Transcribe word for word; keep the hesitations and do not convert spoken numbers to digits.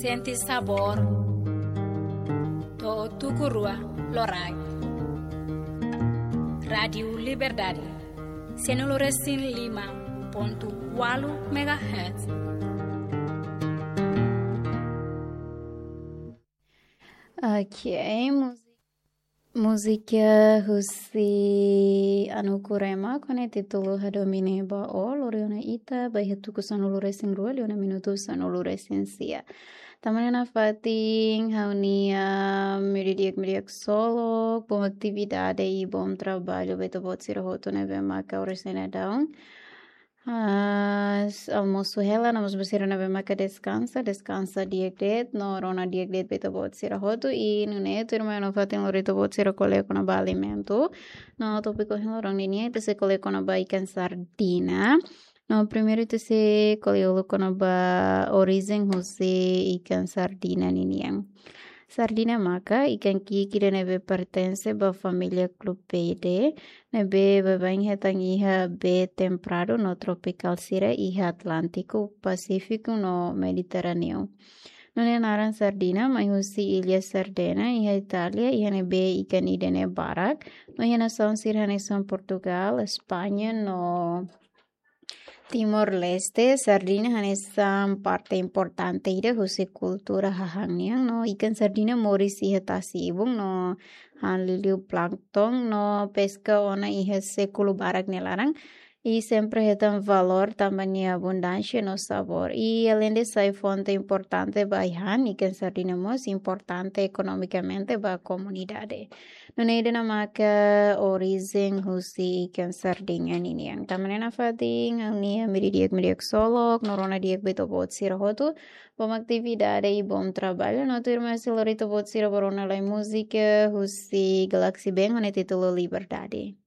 Sente sabór. To'o tuku rua loraik. Rádiu Liberdade. Sanulu resin lima pontu ualu megahertz. Ok, múzika. Múzika husi Anu Kurema, ho títulu Hadomi Ne'e Ba Ó, lori ona ita ba iha tuku sanulu resin rua, liu ona minutu sanulu resin sia. Tanba ne'e nafatin, ha'u-nia meiudia di'ak, meiudia di'ak ksolok, bom atividade i bom traballu ba ita-boot sira hotu ne'ebé maka oras ne'e daudaun ah, s-, almosu hela, no mós ba sira ne'ebé maka deskansa, deskansa di'ak de'it, no rona di'ak de'it ba ita-boot sira hotu, i nune'e tuirmai ha'u nafatin lori ita-boot sira ko'alia kona-ba alimentu, no tópiku ohin loron ninian, ita sei ko'alia kona-ba ikan sardina, no primeiru ita sei ko'alia uluk kona-ba orijen husi ikan sardina ninian. Sardina maka ikan ki'ik ida ne'ebé pertense ba família Clupeidae, ne'ebé baibain hetan iha bee temperadu no tropikál sira iha Atlántiku, Pasífiku no Mediterráneu. No nia naran sardina mai husi illa Sardena iha Itália, iha ne'ebé ikan ida-ne'e barak, no iha nasaun sira hanesan Portugál, España no Timor-Leste, sardina hanesan parte importante ida husi kultura hahán nian, no ikan sardina moris iha tasi-ibun no han liuliu plankton no peska ona iha sékulu barak nia laran. I sempre hetan valór tanba nia abundánsia no sabór. I aleinde sai fonte importante ba ai-han, ikan sardina mós importante ekonomikamente ba komunidade. Nune'e ida-ne'e maka orijen husi ikan sardina ninian. Tanba ne'e nafatin, ha'u-nia meiudia di'ak, meiudia di'ak ksolok, no rona di'ak ba ita-boot sira hotu. Bom atividade i bom traballu, no tuirmai sei lori ita-boot sira ba rona lai múzika husi Galaxy Band, ho títulu Liberdade.